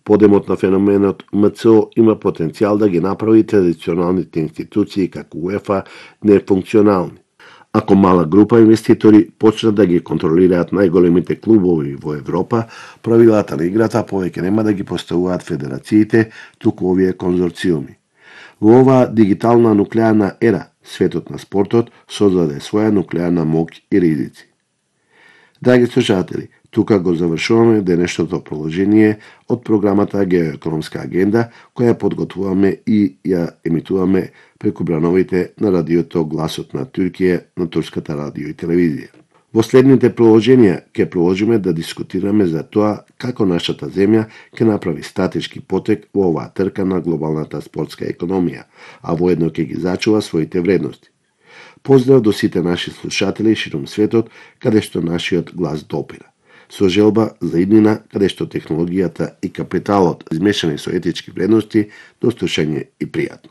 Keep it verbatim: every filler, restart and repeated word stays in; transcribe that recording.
Подемот на феноменот М Ц О има потенцијал да ги направи традиционалните институции како УЕФА нефункционални. Ако мала група инвеститори почнат да ги контролираат најголемите клубови во Европа, правилата на играта повеќе нема да ги поставуваат федерациите, туку овие конзорциуми. Во оваа дигитална нуклеарна ера, светот на спортот создаде своја нуклеарна моќ и ризици. Драги слушатели, тука го завршуваме денешното продолжение од програмата Геоекономска агенда, која подготвуваме и ја емитуваме преку брановите на радиото Гласот на Туркија на турската радио и телевизија. Во следните продолженија ќе продолжиме да дискутираме за тоа како нашата земја ќе направи стратешки потек во оваа трка на глобалната спортска економија, а воедно ќе ги зачува своите вредности. Поздрав до сите наши слушатели широм светот, каде што нашиот глас допира. Со желба за иднина, каде што технологијата и капиталот измешани со етички вредности, до слушање и пријатно.